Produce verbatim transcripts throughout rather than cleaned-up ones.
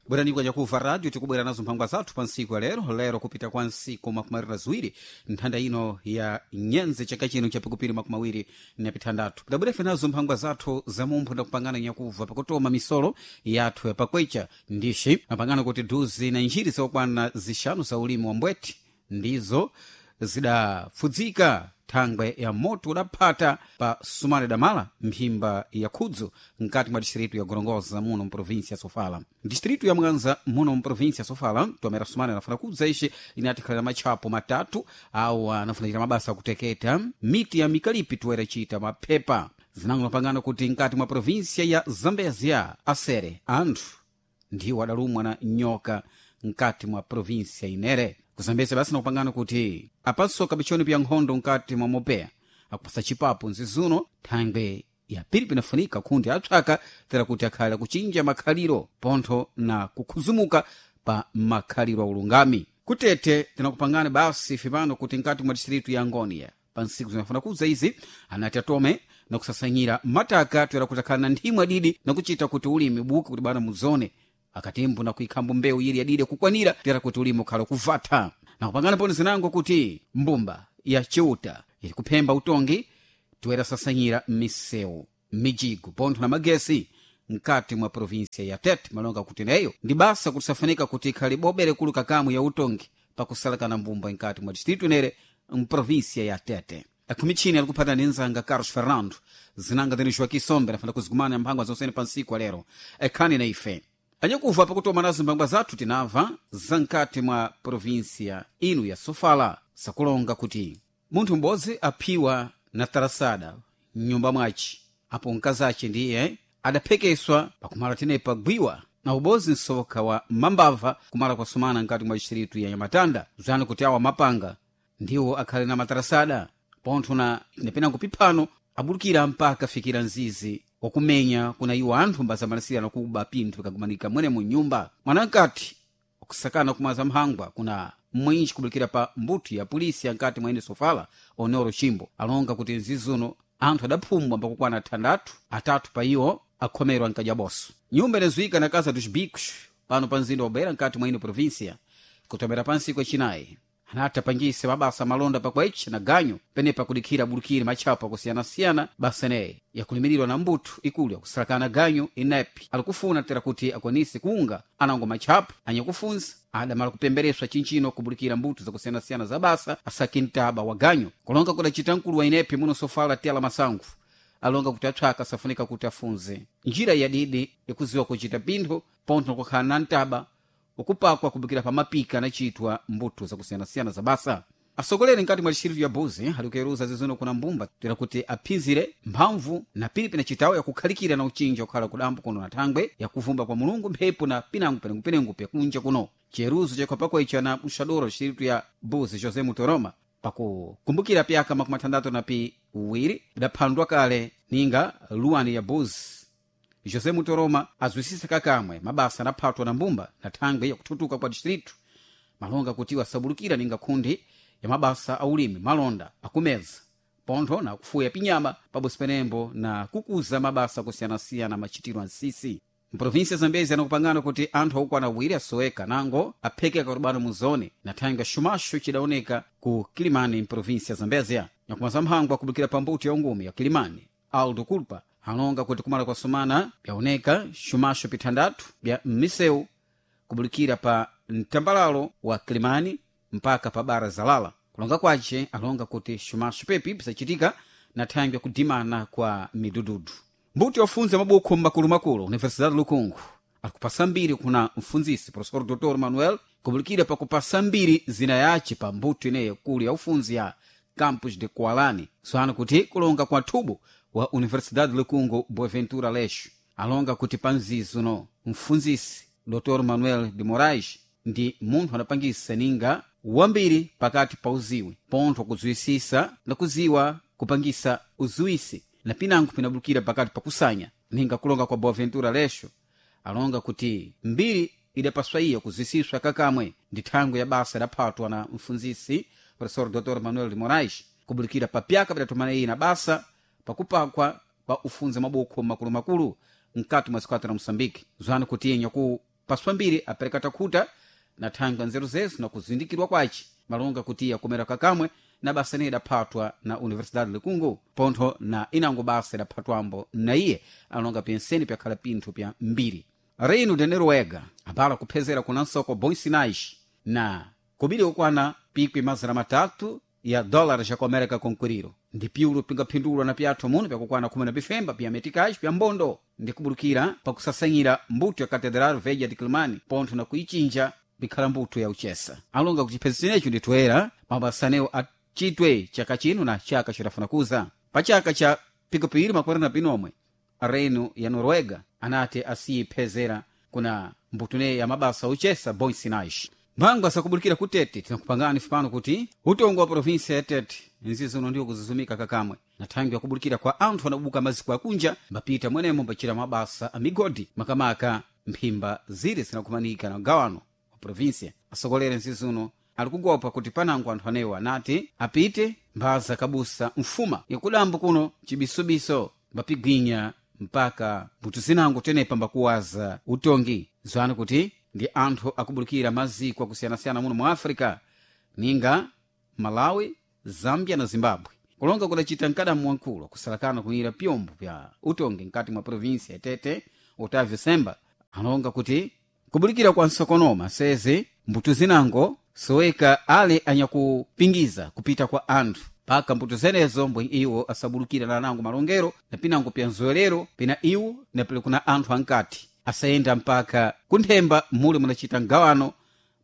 Bwerani kwa nyakuva radio tikubwera nazo mphangwa zathu pa ntsiku ya lero lero kupita kwa ntsiku makumi awiri na ziwiri nthanda ino ya nyenze chaka chino cha pikupiri makumi awiri na pithandatu tidabwerefe nazo mphangwa zathu za mumpho ndakupangana nyakuva pakutoma misolo yathu ya pakwecha ndishi mapangano kuti duzi na njiri zokwana zixanu za ulimi wa mbweti ndizo zidapfudzika thangwe ya moto udaphata pa sumale damala mphimba ya khudzu mkati mwa distritu ya gorongosa muno mprovinsia ya sofala. Distritu ya mwanza muno mprovinsia ya sofala tomera sumale anafuna kudza ixe inatikhalira matchapo matatu awo anafuna chita mabasa akuteketa miti ya mikalipi toera chita maphepa zinango mapangano kuti mkati mwa provinsia ya zambezia asere anthu ndiwo adalumwa na nyoka mkati mwa provinsia inere. Kuzambeza basi nakupangana kuti apanso kabichoni pya nkhondo mkati mwa mopeya akupasa chipapo nzizuno thangwe ya pili pinafunika khundi apsaka tera kuti akhale akuchinja makhaliro pontho na kukhuzumuka pa makhaliro a ulungami. Kutete tinakupangana basi ife pano kuti mkati mwa distritu ya ngonia pa ntsiku zinafuna kudza izi anati atome nakusasanyira mataka toera kuti akhale na nthimwe adidi nakuchita kuti ulimi ubuke kuti bana muzone akatimbo na kuikhambo mbewu ili yadide kukwanira tera kuti ulimi ukhala kuvatha. Nakupangana poni zinango kuti mbumba ya chiuta ili kuphemba utongi toera sasanyira misewu mijigo pontho na magesi mkati mwa provinsia ya Tete malonga kuti neyo ndi basa kuti safunika kuti ikhale bobere kulu kakamwe ya utongi pakusalakana mbumba mkati mwa distritu inere mprovinsia ya Tete. Akhumi ali kuphata ndi nzanga Carlos Fernando zinanga tene Joaquim Sombe nafuna kuzigumana mphangwa zonsene pa ntsiku alero ekhani na ife anyakuva pakutoma nazo mphangwa zathu tinamva zamkati mwa provinsia inu ya sofala sakulonga kuti munthu m'bodzi aphiwa na tarasada mnyumba mwace apo mkazace ndiye adaphekeswa pakumala tenepa gwiwa na ubozi msoka wa mambava kumala kwasumana mkati mwa distritu ya nyamatanda zani kuti awa mapanga ndiwo akhale na matarasada pontho na nepenango piphano abulukira mpaka fikira nzizi wakumenya kuna iwo anthu mbazamalisirana kuba pinthu pikagumanika mwene mu nyumba. Mwanamkati wakusakana kumaza mphangwa kuna mwinji kubulikira pa mbuto ya polisi yankati mwa ine sofala onoro chimbo alonga kuti nzizuno anthu adaphumbwa mpakukwana athandathu atatu pa iwo akhomerwa nkajaboso. Nyumba inazuika na casa dos bicos pano pa mzinda wa Beira nkati mwa ine provinsia kutomera pa ntsiku yacinayi anati apangise mabasa malonda pakwechi na ganyo penepa kudikhira bulukire matchapo akusiyana-siyana basa ineyi yakulimirirwa na mbuto ikulu yakusalakana ganyo inepi alikufuna tera kuti akwanise kuunga anango matchapo anyakufunza adamala kupembereswa chinchino kubulikira mbuto zakusiyana-siyana za basa asaki mtaba wa ganyo kulonga kudacita mkulu wa inepi muno sofala tela masango alonga kuti apsaka safunika kuti afunze njira yadidi ikuziwa kuchita pinthu pontho kukhala na mtaba ukupakwa kubukira pa mapika anachitwa mbuto zakusiyanasiyana za basa. Asogoleri mkati mwa distritu ya Buzi alikuyeruza zizuno kuna mbumba tera kuti aphinzire mphamvu na pilipi na chitawo yakukhalikira na uchinja kukhala kudambo kuno na thangwe yakuvumba kwa mulungu mphepo na pinango penengupenengu pyakunja kuno. Chiyeruzo chakhwapako icho na mxadoro distritu ya Buzi José Mutoroma pakukumbukira pyaka makumi athandatu na piwiri bidaphandwa kale ninga luwani ya Buzi José Mutoroma azwisisa kakamwe mabasa anaphatwa na mbumba na thangwe yakuthutuka kwa distritu malonga kuti wasabulukira ninga khundi ya mabasa a ulimi malonda akumeza pontho na kufuya pinyama pabosi penembo na kukuza mabasa akusiyana-siyana machitiro a nsisi. Mprovinsia ya Zambezi anakupangana kuti anthu akukwana awiri asoweka nango aphekeka kutibano mu zone na thangwe xumaxo cidaoneka ku Kilimani mprovinsia ya Zambezia. Nyakumaza mphangwa akubukira pa mbuto ya ungumi ya Kilimani Aldo Culpa alonga kuti kumala kwasumana byaoneka xumaxo pithandatu bya mmisewu kubulikira pa mtambalalo wa Kilimani mpaka pa bara zalala. Kulonga kwace alonga kuti xumaxo pepi pisachitika na thangwe kudimana kwa midududu. Mbuto yofunza mabukho mmakulumakulu Universidade Lukungu akupasa mbiri kuna mfunzisi Professor Doutor Manuel kubulikira pakupasa mbiri zina yace pa mbuto ineyo kulu ya ufunzi ya Campus de Kualani swano kuti kulonga kwa thubo wa Universidade Lukungu Boaventura Leixo alonga kuti panzizuno mfunzisi Doutor Manuel de Moraes ndi munthu anapangisa ninga wambiri pakati pa uziwi pontho kudziwisisa na kuziwa kupangisa uziwisi na pinango pinabulukira pakati pakusanya ninga kulonga kwa Boaventura Leixo alonga kuti mbiri idapaswa iya kuzisiswa kakamwe ndi thangwe ya basa idaphatwa na mfunzisi Professor Doutor Manuel de Moraes kubulikira papyaka pidatumana iyi na basa pakupakwa pa ufunza mabukho makulumakulu mkati mwa sikwata la Moçambique. Zwanu kuti yenye ku Paswambiri apereka takhuta na thangwi nzeru zezo na kuzindikirwa kwace malonga kuti akomera kakamwe na basa ineyi idaphatwa na universidade likungu pontho na inango basa idaphatwambo na iye alonga penseni pyakhala pinthu pya mbiri. Reino de Noruega abala kuphezera kuna nsoko bons sinais na kobiri okwana pikwi mazana matatu ya dólares ya ku konkuriro ndi piulo pingaphindulwa na pyathu muno pyakukwana khumi na pifemba pya meticais pya mbondo ndi kubulukira pakusasanyira mbuto ya catedral velha de Quelimane pontho na kuichinja pikhala mbuto ya uchesa. Alonga kuti chiphezo chinecho nditoera mabasanewo achitwe chaka chino na chaka chidafuna kuza. Pa chaka cha pikupiri makwera na pinomwe reino ya Noruega anati asiyiphezera kuna mbuto ya mabasa uchesa bons sinais. Mphangwa sakubulukira kutete tinakupangani fupano kuti utongo wa provinsia ya Tete nzizono ndiwo kuzuzumika kakamwe na thangwi yakubulukira kwa anthu anabuka maziko akunja mbapita mwenemo mbachira mabasa a migodi makamaka mphimba ziri zinakumanika na gawano wa provinsia. Asokolere nzizuno ali kugopa kuti panango anthu anewo anati apite mphaza kabusa mfuma yakudambo kuno cibisubiso mbapigwinya mpaka mbuto zinango tenepa mbakuwaza utongi zwani kuti ndi anthu akubulukira maziko akusiyanasiyana muno mu Africa ninga Malawi, Zambia na Zimbabwe. Kulonga kudacita mkadamu wankulu kusalakana kuyira pyombo pya utongi mkati mwa provinsia ya Tete Otavio Semba alonga kuti kubulikira kwa nsokonoma seze mbuto zinango soweka ale anyakupingiza kupita kwa anthu paka mbuto zenezo mbwe iwo asabulukira na anango malongero na pinango pya nzowerero pina iwo na pili kuna anthu ankati asayenda mpaka kunthemba muli munacita mgawano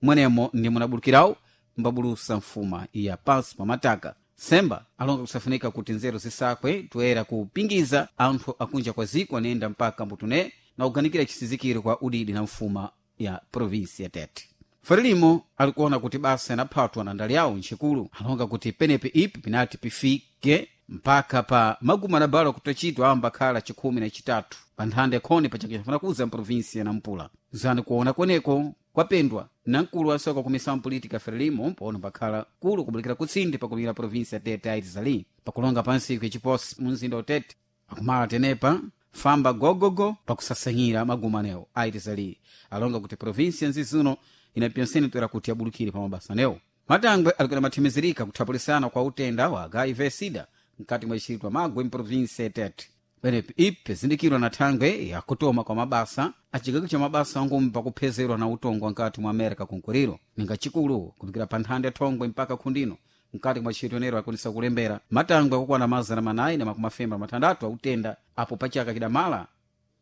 mwenemo ndi munabulukirawo mbabulusa mfuma ya pansi pa mataka. Semba alonga kusafunika kuti nzeru zisakwe toera kupingiza anthu akunja kwa ziko anayenda mpaka mbutune na kuganikira chisizikiro kwa udidi na mfuma ya provinsi ya Tete. Frelimo alikuona kuti basa inaphatwa na ndali yawo ntchikulu alonga kuti penepe ipi pinati pifike mpaka pa maguma na balo kutachitwa amba khala chikhumi na chitatu pa nthanda yakhoni pa chaka chafuna kuza mprovinsi ya Nampula. Zani kuona kweneko kwapendwa na mkulu wa soka kumisa mpolitika Frelimo pono pakhala kulu kubulikira kutsindi pakulira provinsi ya Tete aitizali pakulonga pansi kuchiposi mu mzinda wa Tete akumala tenepa famba gogogo pakusasanyira maguma anewo aitizali alonga kuti provinsi ya nzizuno inapyonseni toera kuti abulukire pa mabasa anewo. Matangwe alikuwa mathimizirika kuthapulisana kwa utenda wa H I V SIDA mkati mwa ixilitwa Magwe mprovinsi ya Tete. Penepi ipi zindikirwa na thangwe yakutoma kwa mabasa acigako cha mabasa angumi pakuphezerwa na utongo nkati mwa Amerika kunkuriro ninga chikulu kupikira pa nthanda ya thongwe mpaka khundino mkati mwa tchito nero akonesa kulembera matangwe akukwana mazana manayi na makumi afemba mathandatu autenda apo pachaka chidamala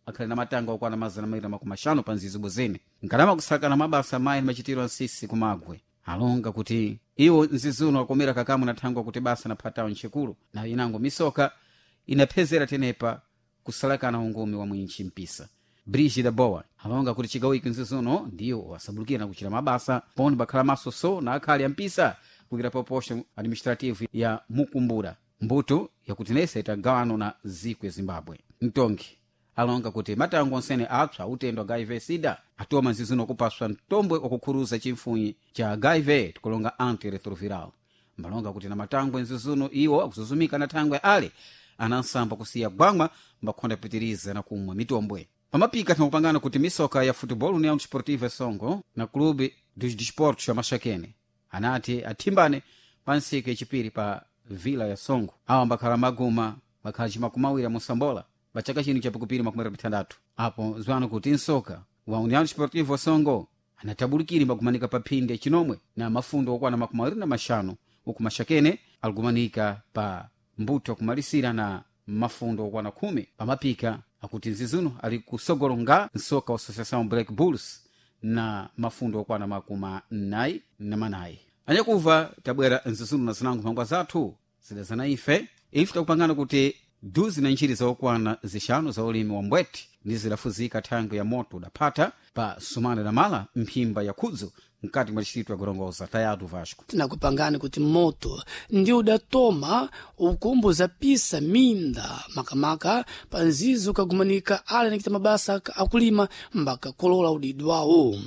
akhali na matangwe akukwana mazana mawiri na makumi axanu pa nzizi bozene nkalama kusakana mabasa mayi ni machitiro ansisi kumagwe alonga kuti iwo nzizuno akomera kakamwe na thangwe kuti basa naphatawo ntchikulu na inango misoka inaphezera tenepa kusalakana ungumi wa mwinchi mpisa. Brigida Boa alonga kuti chigawo iki nzizuno ndiwo asabulukira na kuchita mabasa poni bakhala masoso na akhali ya mpisa kukira poposho administrative ya Mukumbura mbuto yakutinesa itagawano na ziko ya Zimbabwe. Mtongi alonga kuti matango onsene apsa utendo H I V SIDA atoma nzizuno kupaswa mtombwe wakukhuruza chimfunyi cha H I V tikulonga antiretroviral mbalonga kuti na matangwe nzizuno iwo akuzuzumika na thangwe ale anansamba kusiya gwangwa mbakhonda pitiriza na kumwa mitombwe. Pamapika tinakupangana kuti misoka ya futebol União Desportiva Songo na Clube dos Desportos ya Maxaquene anati athimbane pa ntsiku yachipiri pa Vila ya Songo. Awa mbakhala maguma bakhala cimakumawiri musambola pa chaka chino cha pikupiri makumi awiri pithandatu. Apo zwano kuti nsoka wa União Desportiva Songo anatabulikire mbakumanika pa phindi yachinomwe na mafundo okwana makumi awiri na maxanu uku Maxaquene alikumanika pa mbuto akumalisira na mafundo okwana khumi. Pamapika akuti nzizuno ali kusogolonga nsoka wa Associação Black Bulls na mafundo okwana makumi nayi na manayi. Anyakuva tabwera nzizuno na zinango mphangwa zathu zidazana ife ife takupangana kuti duzi na ntchiri zokwana zixanu za ulimi wa mbweti ndi zidafuzika thangwi ya moto udaphata pa sumana damala mphimba ya khudzu mkati mwa distrito ya Gorongosa. Tayatu Vasco Tinakupangani kuti moto ndi udatoma ukumbuza pisa minda makamaka pa nzizo kagumanika ale anachita mabasa akulima mbakakolola udidwawo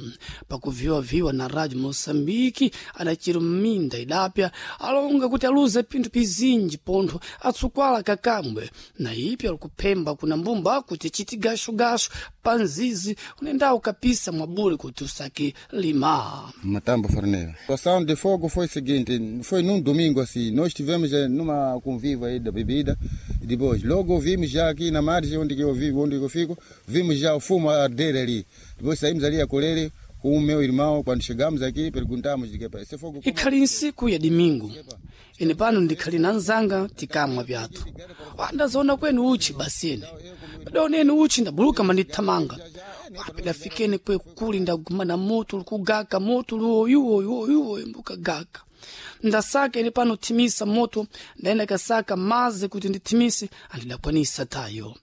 pakuviwaviwa na radio Moçambique adachira minda idapya alonga kuti aluze pinthu pizinji pontho atsukwala kakambwe na ipi alikuphemba kuna mbumba kuti chiti gashugashu panzizi unendawo kapisa mwabule kuti usake lima. Matambo Forneira. A ação de fogo foi o seguinte, foi num domingo assim, nós tivemos eh, numa convívio aí da bebida, e depois logo vimos já aqui na margem onde que eu vivo, onde que eu fico, vimos já o fumo a arder ali. Depois saímos ali a colher com o meu irmão, quando chegamos aqui perguntamos de que esse fogo como Ikhali nsiku ya dimingu ine pano ndikhali na nzanga tikamwa pyathu wandazoona kwenu uchi basini padaoneni uchi ndabuluka mandithamanga wapidafikeni kwe kuli ndagumana moto likugaka moto luoyuoyuoyuoyu mbukagaka ndasaka ine pano thimisa moto ndaenda kasaka mazi kuti ndithimise andidakwanisa tayo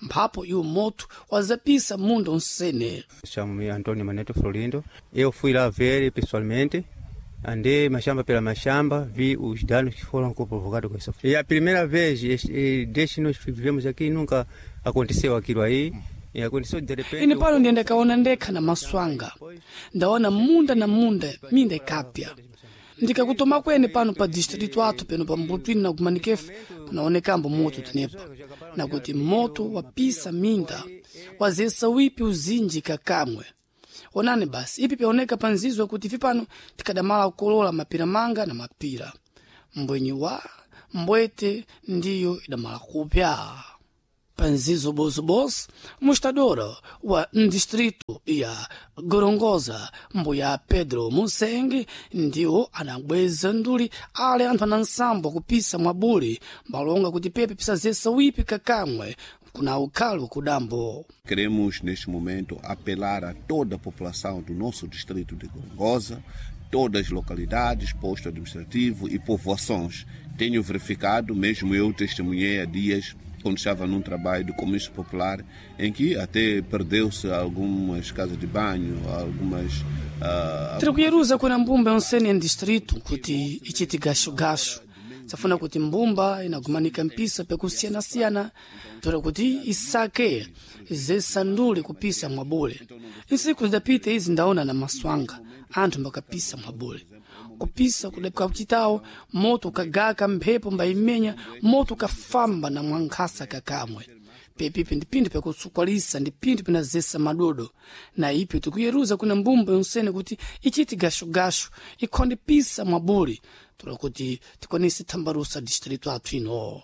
mphapo iwo moto wazapisa munda unsene. Chamo-me Antônio Maneto Florindo. Eu fui lá ver pessoalmente, andei machamba pela machamba, vi os danos que foram provocados com isso. E a primeira vez, este, desde que nós vivemos aqui, nunca aconteceu aquilo aí. E aconteceu de repente. Ine pano ndiyenda kaona ndekha na maso anga ndaona munda na munda minda ikapya ndikakutoma kwene pano pa distrito athu peno pa mbutwini na kumanikefe panaonekambo moto tenepa nakuti moto wapisa minda wazesa wipi uzinji kakamwe. Onani basi ipi pyaoneka panzizwe kuti ife pano tikadamala kukolola mapira manga na mapira mbwenyi wa mbwete ndiyo idamala kupya panzizo bozobozo mostrador wa distrito ya Gorongosa mbuya Pedro Musenge ndiwo anabweza nduli ale anthu anansambo kupisa mwabule mbalonga kuti pepe pisazesa wipi kakamwe kuna ukhalo kudambo. Queremos, neste momento, apelar a toda a população do nosso distrito de Gorongosa, todas as localidades, posto administrativo e povoações. Tenho verificado, mesmo eu testemunhei há dias, quando estava num trabalho do comício popular, em que até perdeu-se algumas casas de banho, algumas... Uh, Tiri kuyeruza kuna mbumba yonsene ya distrito kuti ichiti gasho-gasho safuna kuti mbumba inagumanika mpisa pekusiyana-siyana tora kuti isake zesandule kupisa mwabule nsiku zidapita izi ndaona na maswanga anthu mbakapisa mwabule kupisa kuchitawo moto ukagaka mphepo mbayimenya moto ukafamba na mwankhasa kakamwe pepipi ndi pinthu pyakusukwalisa ndi pinthu pinazesa madodo na ipi tikuyeruza kuna mbumba yonsene kuti ichiti gashogasho ikhonde pisa mwabule tola kuti tikwanise thambalusa distrito athu ino.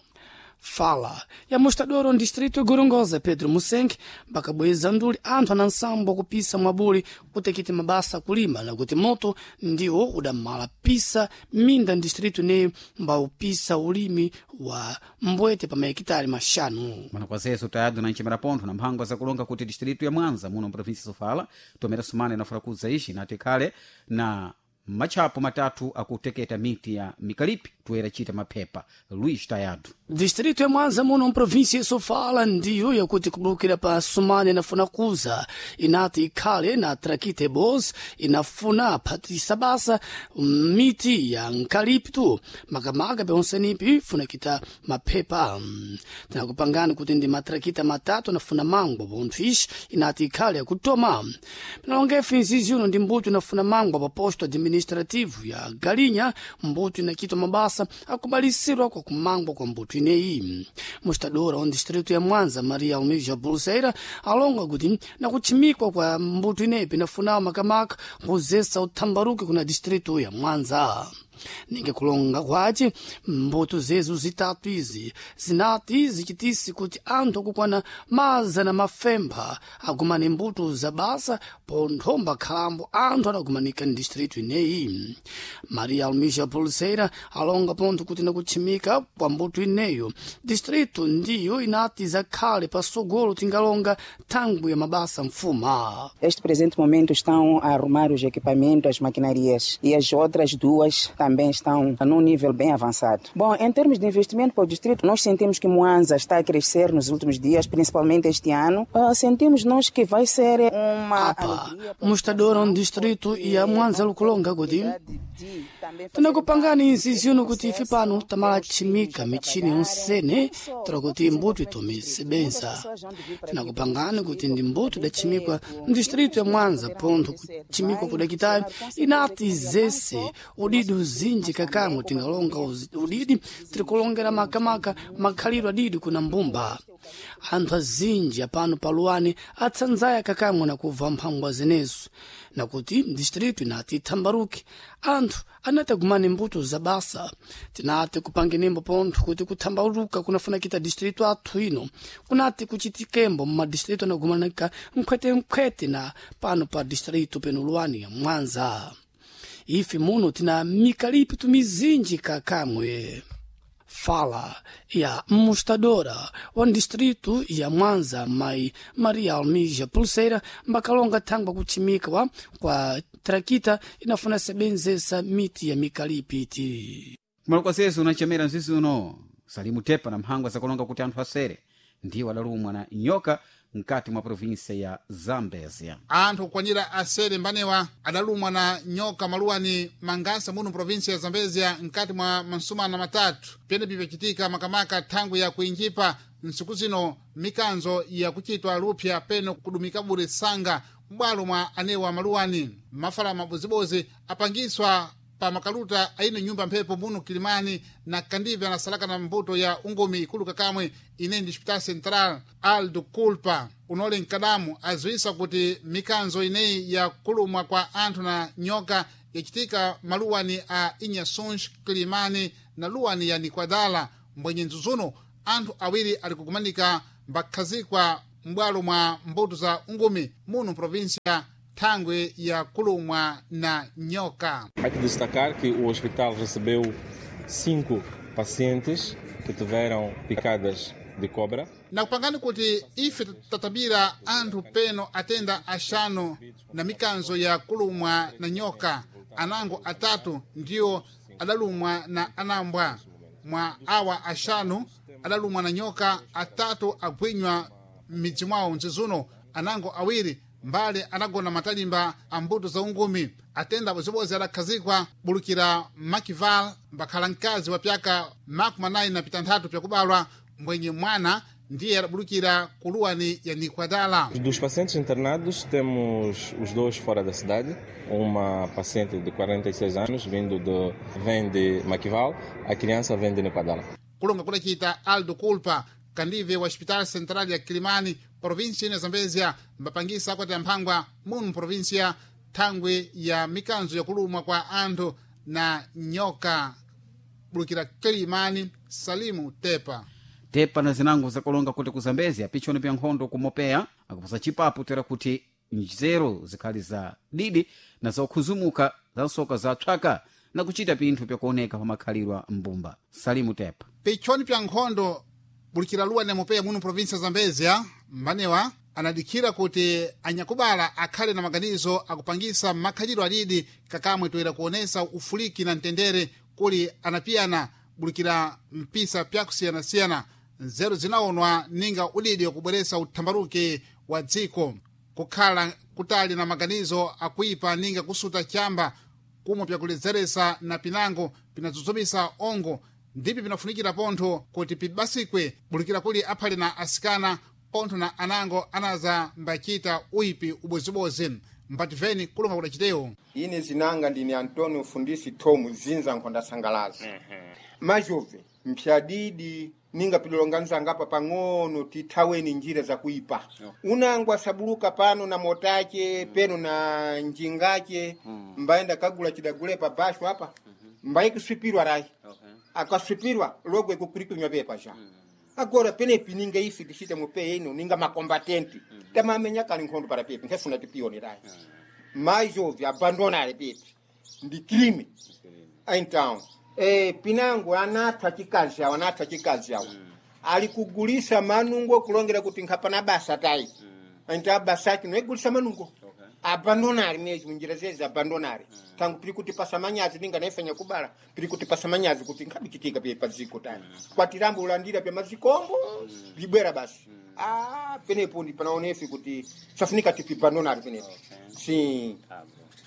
Fala ya mostrador on distrito ya Gorongosa Pedro Musenge bakabweza nduli anthu anansambo kupisa mwabule kuti akite mabasa akulima nakuti moto ndiwo udamala pisa minda distrito ineyo mbaupisa ulimi wa mbwete pa mahekitari maxanu. Mwana kwazezo tayado na nchimera pontho na mphangwa zakulonga kuti distrito ya Mwanza muno mprovinsi Sofala tomera sumana inafuna kuza ishi nati khale na matchapo matatu akuteketa miti ya mikalipi toera chita maphepha. Luís Tayado. Distrito ya Mwanza muno mprovinsi ya Sofala ndiyo yakuti kubulukira pa Sumane inafuna kuza inati ikhale na trakite bos inafuna phatisa basa miti ya nkalipto makamaka pyonsenipi ifuna kita maphepha. Tinakupangani kuti ndi matrakita matatu anafuna mangwa pontho ixi inati ikhale yakutoma pinalongefe nzizi uno ndi mbuto inafuna mangwa pa posto administrativo ya Galinha mbuto inakitwa mabasa akubalisirwa kwa kumangwa kwa mbuto ineyi. Mostradora wa distrito ya Mwanza Maria Almeida Pulseira alonga kuti nakuchimikwa kwa mbuto ineyi pinafunawo makamaka kuzesa uthambaruke kuna distrito ya Mwanza. Ninge kulonga kwace mbuto zezo zitatu izi zinati zichitisi kuti anthu akukwana mazana mafempha agumane mbuto za basa ponthomba khalambo anthu adagumanika ndistrito ineyi. Maria Almeida Pulseira alonga pontho kuti nakuchimika kwa mbuto ineyo distrito ndiyo inati zakhale pasogolo tingalonga thangwi ya mabasa mfuma. Este presente momento estão a arrumar os equipamentos, as maquinarias e as outras duas também estão num nível bem avançado. Bom, em termos de investimento para o distrito, nós sentimos que Mwanza está a crescer nos últimos dias, principalmente este ano. Uh, sentimos nós que vai ser uma Apa, mostrador um distrito e a Mwanza lukulonga kuti Tinakupangani nziziuno kuti ife pano tamala chimika michini yonsene tala kuti mbuto itome sebenza. Tinakupangani kuti ndi mbuto idachimikwa mdistrito ya Mwanza pontho kuchimikwa kudakitayo inati zese udidi uzinji kakamwe tingalonga uzi- udidi tirikulongera makamaka makhalidwe adidi kuna mbumba. Anthu azinji apano paluwani atsanzaya kakamwe nakubva mphangwa zenezo nakuti distrito inati ithambaruke anthu anati agumane mbuto za basa. Tinati kupangenembo pontho kuti kuthambaluka kunafunakita distrito athu ino kunati kuchitikembo mmadistrito anagumanika nkhwetenkhwete na pano pa distrito peno luwani ya Mwanza. Ife muno tina mikalipito mizinji kakamwe. Fala ya mostradora wa distrito ya Mwanza mai Maria Almija Pulseira mbakalonga thangwa kuchimika wa kwa trakita inafuna sebenzesa miti ya mikalipiti. Kumalo kwa zezo unachemera mzizi uno Salimu Tepa na mphangwa zakulonga kuti anthu asere ndiwo adalumwa na nyoka mkati mwa provinsia ya Zambezia. Anthu kukwanira asere mbanewa adalumwa na nyoka maluwani Mangasa muno provinsia ya Zambezia mkati mwa mansumana matatu. Pyenepi pyacitika makamaka thangwi ya kuinjipa ntsiku zino mikanzo yakuchitwa lupya peno kudumika bure sanga m'bwalo mwa anewa maluwani. Mafala mabozibozi apangiswa pa makaluta aine nyumba mphepo muno Kilimani na kandive anasalaka na mbuto ya ungomi ikulu kakamwe ine ndi Hospital Central. Aldo Culpa unole mkadamu aziwisa kuti mikanzo ineyi ya kulumwa kwa anthu na nyoka yacitika maluwani a Inhaçuns, Kilimani na luwani ya Nikwadala. Mbwenye nzuzuno anthu awiri ali kukumanika mbakhazikwa m'bwalo mwa mbuto za ungumi muno provinsia thangwi ya kulumwa na nyoka. Há que destacar que o hospital recebeu cinco pacientes que tiveram picadas de cobra. Nakupangani kuti ife tatabira anthu peno atenda axanu na mikanzo ya kulumwa na nyoka. Anango atatu ndiwo adalumwa na anambwa. Mwa awa axanu adalumwa na nyoka, atatu agwinywa m'midzi mwawo mzizuno. Anango awiri mbale anagona matalimba a mbuto za ungumi. Atenda bozibozi adakhazikwa bulukira Makival mbakhala mkazi wa pyaka makumi anayi na pitanthatu pyakubalwa mbwenye mwana ndiye adabulukira kuluwani ya Nikwadala. Dos pacientes internados, temos os dois fora da cidade. Uma paciente de quarenta e seis anos, vindo de, vem de Maquival, a criança vem de Niquadala. Kulonga kudacita Aldo Culpa kandive wa Hospital Central ya Kilimani provinsia ino ya Zambezia mbapangisa akwati amphangwa muno provinsia thangwi ya mikanzo yakulumwa kwa anthu na nyoka. Bulukira Kilimani, Salimu Tepa. Tepa na zinango zakulonga kuti ku Zambezia pichoni pya nkhondo kumopeya akuposa chipapu tera kuti nzeru zikhali za didi na zokhuzumuka za nsoka zatchaka na kuchita pinthu pyakuoneka pa makhalidwe mbumba. Salimu Tepa. Pichoni pya nkhondo bulukira luwa nemopeya muno provinsia ya Zambezia mbanewa anadikhira kuti anyakubala akhale na maganizo akupangisa makhalidwe adidi kakamwe toera kuonesa ufuliki na mtendere kuli anapiyana bulukira mpisa pyakusiyanasiyana. Nzeru zinaonwa ninga udidi wakubweresa uthambaruke wa dziko kukhala kutali na maganizo akuipa ninga kusuta chamba kumwe pyakuledzeresa na pinango pinadzudzumisa ongo ndipi pinafunikira pontho kuti pibasikwe bulukira kuli aphale na asikana pontho na anango anaza mbachita uipi ubozibozi. Mbativeni kulonga kudacitewo. Ine zinanga ndine Antonio Fundisi Tomu zinza nkhondasangalaza majove mpyadidi ninga pilolonganizanga apa pang'ono tithaweni njira zakuipa. Okay. Unango asabuluka pano na motache peno na njingache mm. Mbaenda kagula chidagule pa basho apa mm -hmm. Mbaye rayi. Okay. Akaswipirwa logo ikukurikunywa pepa ja mm. Agora penepi ninga ifi tichite mupe ino ninga makombatenti mm -hmm. Tamamenya kali nkhondo para pepi nkhefuna tipiyoni rayi mm. Majove abandonare pepi ndi crime então eh, pinango anathu achikazi awo anathu achikazi awo mm. Ali kugulisa manungo kulongera kuti nkhapana basa tayi mm. Então basa ake noigulisa manungo. Okay. Abandonare mesmo njira zezi abandonare mm. Tangu pili kuti pasa manyazi ninga naifanya kubala pili kuti pasa manyazi kuti nkhabichitika pye paziko tani mm. Kwatirambo ulandira pya mazikombo mm. Libwera basi mm. Ah, penepo ndi panaonefi kuti safunika tipi abandonare penepo. Okay. Si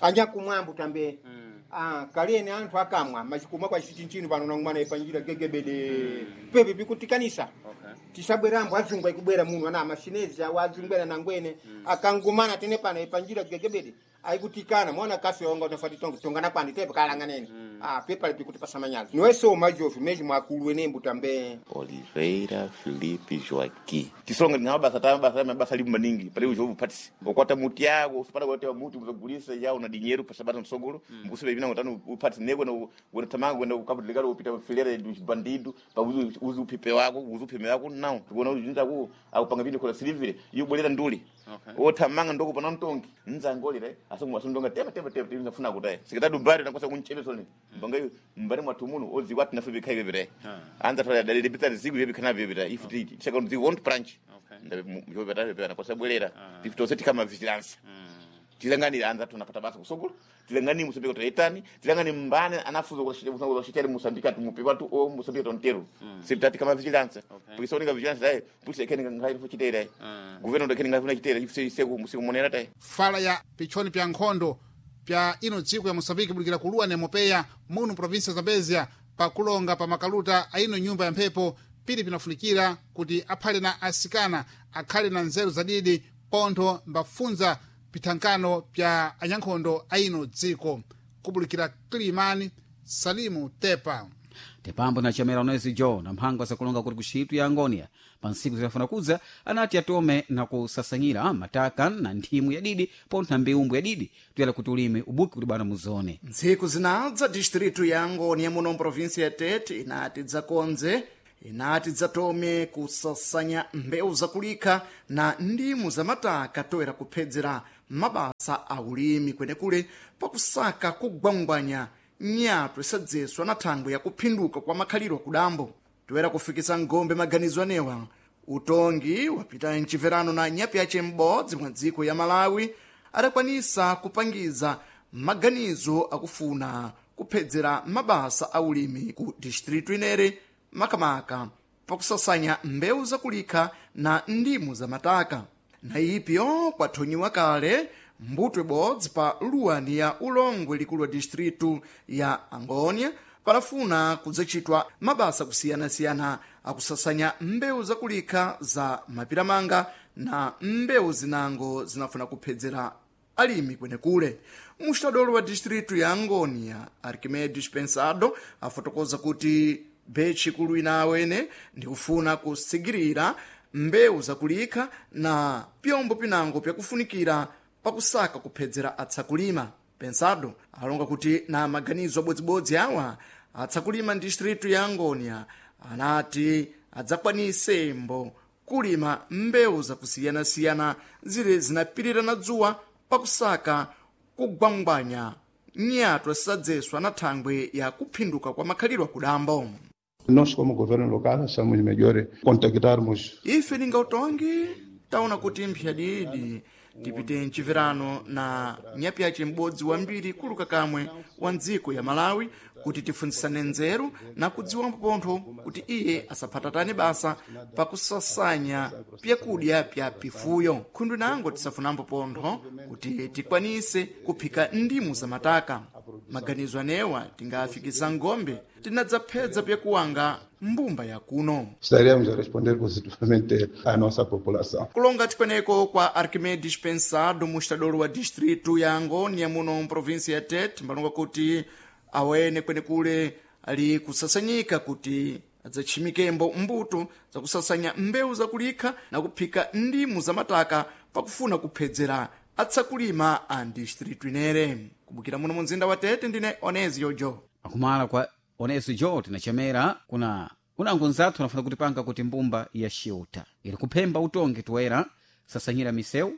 anyakumwambo tambe mm. Ah, kalene anthu akamwa machikumwa kwa chichinchino pano nangumana ipanjira gegebede mm. pepe pikutikanisa Okay. tisabwerambo azungu aikubwera muno ana amashinezi awo azungu ena nangwene mm. akangumana tene pano ipanjira gegebede aikutikana mwana kafe onga utafati tonga tongana kwandi tepe kalanganene mm. ah pepa pikuti pasamanyazi niweso majofu mezi mwakulu enembu tambe Oliveira Felipe Joaquim. Tisonga ndinga mabasa ta mabasa mabasa ali maningi pali ujobu patisi. Okwata muti yako usipata kwata muti muzogulisa yawo na dinheiro pasabata msogolo mkusibe bina ngotano upatisi nego na wena tamanga wena ukabudligalo upita filera dos bandido pa uzu uzu upipe wako uzu upime wako não tikuona ujinza ku akupanga vindu kola silivile yubolera nduli Okay. othamanga ndoko pana mtongi nzangolire asungu asundonga tema tema tema tema funa kudai sikatatu mbari nakosa kuncheme soni mbanga mbari mwathu muno odziwa ati nafe bikhai bebere anza thola dalile bitsa ziku bebe kana bebere if ti second the want branch ndabe mjobeta bebe nakosa bwelera tifitose tikama vigilance tilangani anza tunapata basa kusogolo tilangani musambika toetani tilangani mbane anafuza kushitele musambika tumupe watu o musambika tontero sipitati kama vigilance Okay. porque soninga vigilance dai pusi ekeni ngai fuchitera governo ndekeni ngai fuchitera ifse seku musiku tai fala ya pichoni pya nkhondo pya ino dziko ya moçambique bulikira kuluwa nemopeya muno província ya zambezia pakulonga pa makaluta a ino nyumba ya mphepo pili pinafunikira kuti aphale na asikana akhale na nzeru zadidi pontho mbafunza pithankano pya anyankhondo a ino dziko kubulikira Kilimani Salimu Tepa. Tepambo na chamera onezi jo na mphangwa zakulonga kuti kuxitu ya angonia pa ntsiku zidafuna kudza anati atome na kusasanyira mataka na nthimu yadidi pontho na mbeumbu yadidi tuyala kuti ulime ubuki kuti bwana muzone. Ntsiku zinadza distritu ya Angônia muno mprovinsia ya Tete inati dzakonze inati dzatome kusasanya mbewu zakulikha na ndimu za mataka toera kuphedzera mabasa a ulimi kwenekule pakusaka kugwangwanya nyatwa isadzeswa na thangwe ya kuphinduka kwa makhaliro akudambo toera kufikisa ngombe maganizo anewa utongi wapita mchimverano na nyapi yace m'bodzi mwa dziko ya Malawi adakwanisa kupangiza maganizo akufuna kuphedzera mabasa a ulimi ku distritu inere makamaka pakusasanya mbewu zakulikha na ndimu za mataka na ipyo kwathonyiwa kale mbuto ibodzi pa luwani ya ulongwe likulu wa distritu ya Angônia panafuna kudzacitwa mabasa kusiyanasiyana akusasanya mbewu zakulikha za mapiramanga na mbewu zinango zinafuna kuphedzera alimi kwenekule. Mustadolo wa distritu ya Angônia Arquimedes Pensado afotokoza kuti betchi kulu inawene ndikufuna kusigirira mbewu zakulikha na pyombo pinango pyakufunikira pakusaka kuphedzera atsakulima. Pensado alonga kuti na maganizo abodzibodzi awa atsakulima distritu ya Angônia anati adzakwanise mbo kulima mbewu zakusiyanasiyana zile zinapirira na dzuwa pakusaka kugwangwanya nyatwa sisadzeswa na thangwe ya kuphinduka kwa makhaliro akudambo. Nós, como governo local, achamos melhor contactarmos Ife ninga utongi taona kuti mphyadidi tipite mchimverano na nyapi yace m'bodzi wambiri kuluka kamwe wa ndziko ya Malawi kuti tifunzisane nzeru na kudziwa mpontho kuti iye asaphatatane basa pakusasanya pyakudya pya pifuyo khundu nango tisafunambo pontho kuti tikwanise kuphika ndimu za mataka. Maganizo anewa tingafikisa ngombe tinadzaphedza pyakuwanga mbumba ya kuno. Estaremos a responder positivamente à nossa população. Kulonga tikweneko kwa Arquimedes Pensado mustadolo wa distritu ya Angônia muno mprovinsia ya Tete mbalonga kuti awene kwenekule ali kusasanyika kuti adzatchimikembo mbuto zakusasanya mbewu zakulikha na kuphika ndimu za mataka pakufuna kuphedzera atsakulima a distritu inere. Kubukira muno mu mzinda wa Tete ndine Onezio Jo. Akumala kwa oneso jo tinachamera kuna unango nzathu anafuna kutipanga kuti mbumba ya xiuta ili kuphemba utongi toera sasanyira misewu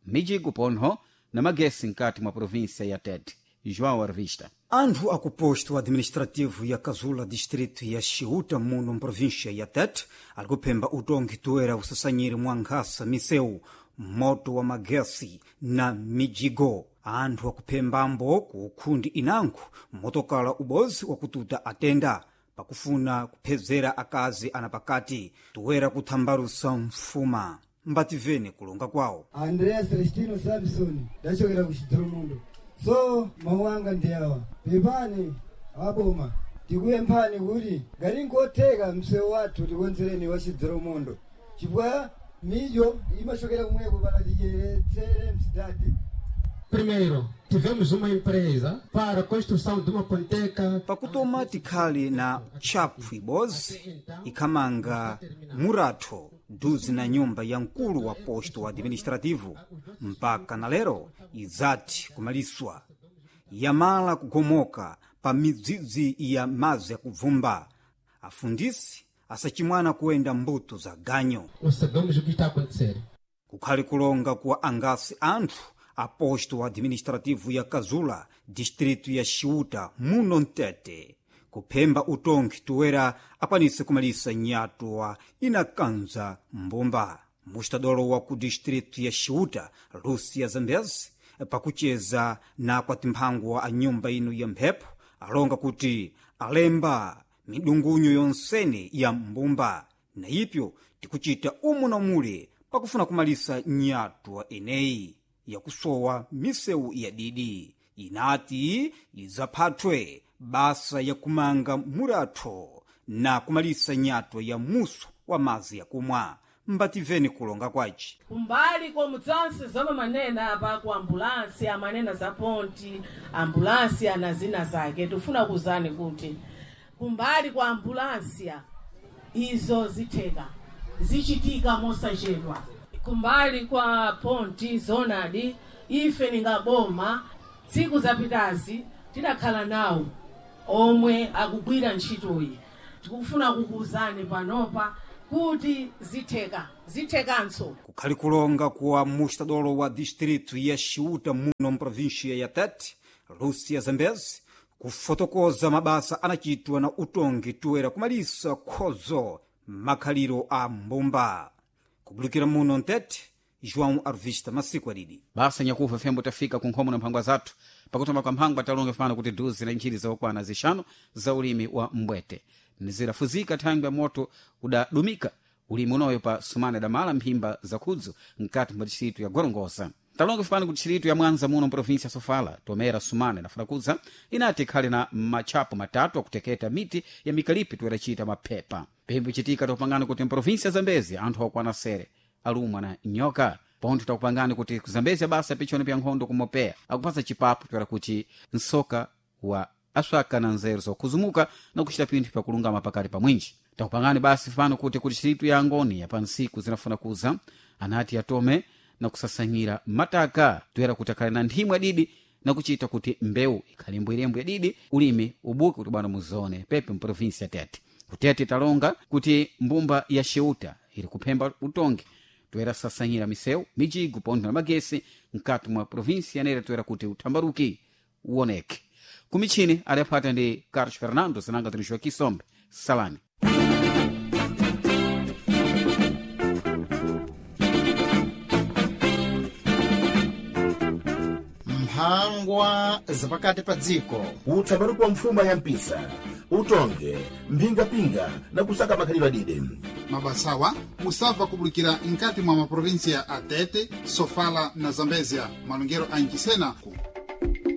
mijigo pontho na magesi nkati mwa província ya Tete. João Arvista. Anthu akuposto administrativo ya Kazula distrito ya Xiuta muno mprovíncia ya Tete ali kuphemba utongi toera usasanyire mwa nkhasa misewu moto wa magesi na mijigo. Anthu akuphembambo ku ukhundi inango motokala ubozi wakututa atenda pakufuna kuphedzera akazi ana pakati toera kuthambalusa mfuma mbativene kulonga kwawo. Andrea Celestino Samson ndachokera ku Chidzolomondo. So mawu anga ndi awa, pepani aboma, tikuyemphani kuti ngati nkotheka msewu wathu tikonzereni wa chidzero chifukwa mijo imachokera kumweko pana tidyeretsere msidati. Primeiro, tivemos uma empresa para a construção de uma ponteca. Pakutoma tikhali na tchaphu ibodzi ikhamanga muratho duzi na nyumba ya mkulu wa posto administrativo mpaka na lero idzati kumaliswa yamala kugomoka pa midzidzi ya madzi yakubvumba afundisi asachimwana kuyenda mbuto za ganyo. Nós sabemos o que está a acontecer. Kukhali kulonga kuwa angasi anthu a posto administrativo ya Kazula, distrito ya Xiuta, muno mtete kuphemba utongi toera akwanise kumalisa nyatwa inakanza mbumba. Mustadolo wa ku distrito ya Xiuta, Lúcia Zambezi, pakucheza na kwatimphango a nyumba ino ya mphepo alonga kuti alemba midungunyo yonsene ya mbumba na ipyo tikuchita umu na mule pakufuna kumalisa nyatwa eneyi yakusowa misewu ya didi inati idzaphathwe basa yakumanga muratho na kumalisa nyatwa ya muso wa madzi yakumwa. Mbativeni kulonga kwaci kumbali komudzansi zomwe manena apa ku ambulansi amanena za ponti ambulansi ana zina zake. Tifuna kuzani kuti kumbali kwa ambulansiya izo zitheka zichitika mosachedwa. Kumbali kwa ponti zonadi ife ningaboma tsiku zapitazi tidakhala nawo omwe akugwira ntchitoyi. Tikufuna kukuuzani panopa kuti zitheka zithekanso. Kukhali kulonga kuwa mustadolo wa distrito ya Xiuta muno mprovinsia ya Tete, Lúcia Zambezi, kufotokoza mabasa anachitwa na utongi toera kumalisa khozo makhaliro a mbumba. Kubulukira muno mtete, João Arvista masiku adidi. Basa nyakufa fembo tafika ku nkhomo na mphangwa zathu. Pakutoma kwa mphangwa talonga fano kuti duzi la nchiri zokwana zixanu za ulimi wa mbwete nizirafuzika thangwi ya moto udadumika ulimi unoyo pa sumana damala mphimba zakhudzu mkati mwa distritu ya Gorongosa. Talonga fano ku distritu ya Mwanza muno mprovinsia ya Sofala tomera sumana nafuna inati ikhale na matchapo matatu akuteketa miti ya mikalipi toeracita mapepa. Pembo ichitika takupangani kuti mprovinsia ya Zambezi anthu akwana sere alumwa na nyoka. Pontho takupangani kuti kuzambezi basa pichoni pya nkhondo kumopeya akupasa chipapo toera kuti nsoka wa aswaka na nzeru zokhuzumuka na kuchita pinthu pakulungama pakati pa mwinji. Takupangani basi fano kuti ku distritu ya Angoni ya pansiku zinafuna kuza anati atome na kusasanyira mataka toera kuti akhale na nthimwi adidi na kuchita kuti mbewu ikhale mbwerembwe yadidi ulimi ubuke kuti bwana muzone pepe mprovinsi ya Tete. Kutete talonga kuti mbumba ya Xeuta ili kuphemba utongi toera sasanyira misewu mijigo pontho na magesi mkati mwa provinsi yanera toera kuti uthambaruki uwoneke. Kumichini adaphata ndi Carlos Fernando zinanga tinixwa Kisombe salani. Mphangwa zapakati pa dziko. Uthambaruki wa mfuma ya mpisa utonge mphingapinga na kusaka makhalidwe adide. Mabasawa musabva kubulikira nkati mwa maprovinsia a Tete, Sofala na Zambezia, malongero a Nchisena ku